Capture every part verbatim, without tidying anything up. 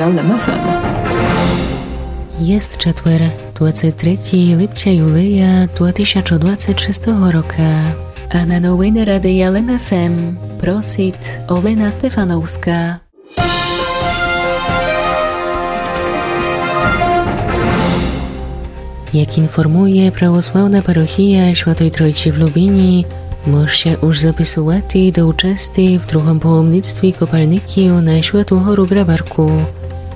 Лем ФМ. Єст четвер, двадцет третє липця юлея два тисячы двадцет шестого рока. А на новины Радия Лем ФМ просит Олена Стефановска. Як інформує православна парохія Святой Тройці в Любіні, мож ся уж записувати до участи в другом паломництві копальників на Святу гору Грабарку.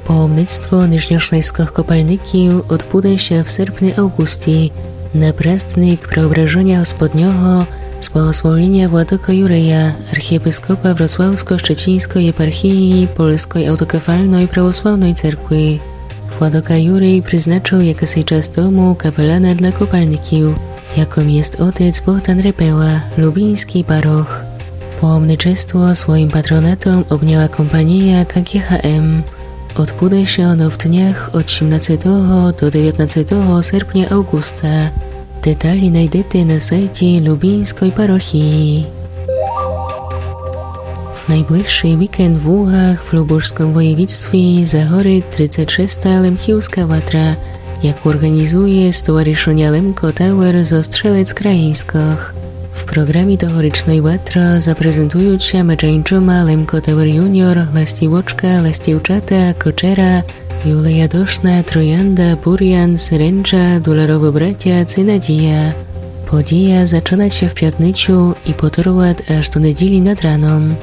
Паломництво нижньошлеськых копальників одбуде ся в серпни-авґусти на праздник Преображеня Господнього з благословленя владыкы Юрия, архієпископа Вроцлавско-Щеціньской єпархії Польской автокефальной православной церкви. Владыка Юрий призначив якысий час тому капелана для копальників, якым єст отець Богдан Репела, любіньскій парох. Паломничество своім патронатом обняла компанія КГХМ. Одбуде ся оно в днях од сімнадцетого до девятнадцетого серпня-авґуста. Деталі найдете на сайті Любіньской парохії. В найближшый вікенд в Лугах в Любожском воєвідстві загорит тридцет шеста Лемківска ватра, яку орґанізує Стоваришеня Лемко Тауер зо Стрелец Країньскых. В програмі тогорічной ватры запрезентуют ся медже інчыма Лемко Тауер Юніор, Ластівочка, Ластівчата, Кочера, Юлия Дошна, Троянда, Бурян, Серенджа, Дуларовы братя ци Надія. Подія зачынат ся в пятницю і потурват аж до неділі над раном.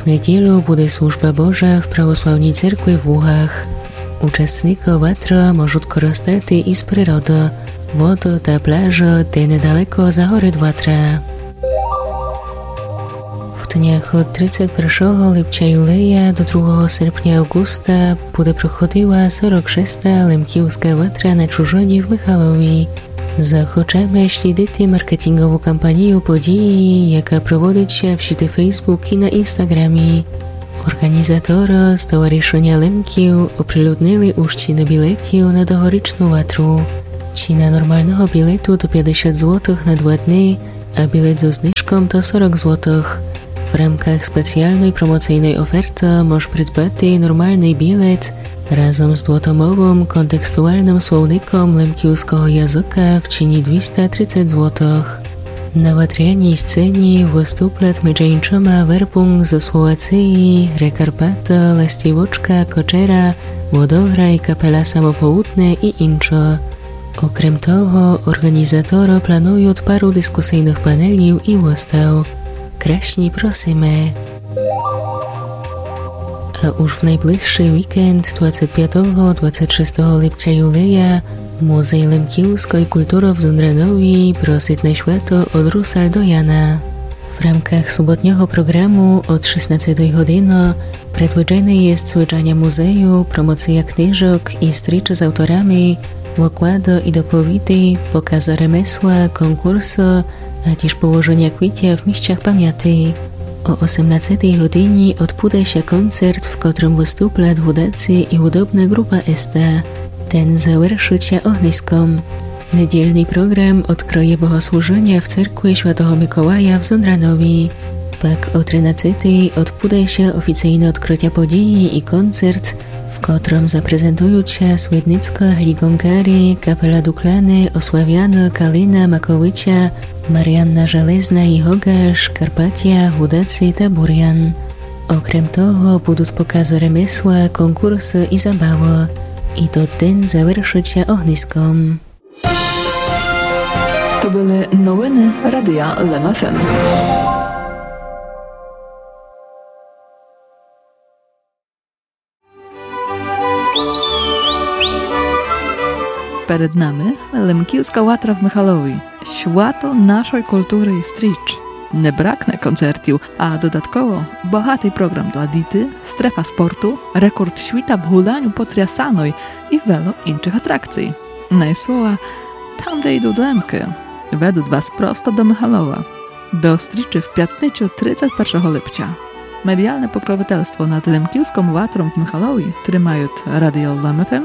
В неділю буде служба Божа в православній церкви в Лугах. Участникы ватры можут корыстати из природы, воды та пляжы, де недалеко загорит ватра. В днях од тридцет першого липця юлея до другого серпня авґуста буде проходила сорок шеста Лемківска ватра на Чужыні в Михалові. Захочеме слідити маркетінґову кампанію події, яка проводит ся в сіти Facebook і на Інстаграмі. Орґанізаторы з Товаришеня Лемків оприлюднили уж ціны білетів на тогорічну ватру. Ціна нормалного білету то пятдесят злотых на два дни, а білет зо знижком то сорок злотых. В рамках спеціалной промоцийной оферты мож придбати нормалный білет разом з двотомовым контекстуалным словником лемківского языка в ціні двіста тридцет злотых. На ватряній сцені выступлят медже інчыма Вербунґ зо Словациі, Рекарпаты, Ластівочка, Кочера, Водограй, капела Самопоудне і інчы. Окрем того, орґанізаторы плануют пару дискусийных панелів і выстав. Красні просиме. А уж в найближшый вікенд двадцет пятого, двадцет шестого липця юлея Музей лемківской културы в Зундранові просит на свято од Русаль до Яна. В рамках суботнього програму од шістнадцетої годины предвиджене єст звичаня музею, промоция книжок і стрічы з авторами, выклады і доповіды, показы ремесла, конкурсы, а тіж положеня квітя в місцях памяти. О осемнадцетій годині одбуде ся концерт, в котрым выступлят гудаци і гудобна ґрупа Еста. Тен завершыт ся огниском. Недільный програм одкрыє богослужыня в церкви Святого Миколая в Зундранові. Пак о тринадцетій одбуде ся офіцийне одкрытя події і концерт, в котрым запрезентуют ся Свідницка, Гліґонкарі, капела Дукляне, Ославяны, Калина, Маковиця, Маріанна Железна і Гоґаш, Карпатя, Гудаци та Бурян. Окрем того, будут показы ремесла, конкурсы і забавы. І тот ден завершыт ся огниском. То были новины Радия Лем ФМ. Перед нами Лемківска ватра в Михалові. Свято нашой културы і стріч. Не бракне концертів, а додатково богатый програм для діти, стрефа спорту, рекорд світа в гуляню по Трясаной і вело іншых атракцій. Най слова, там, де йдут Лемкы, ведут вас просто до Михалова. До стрічы в пятницю тридцет першого липця. Медіалне покровительство над Лемківском ватром в Михалові тримают Радіо Лем ФМ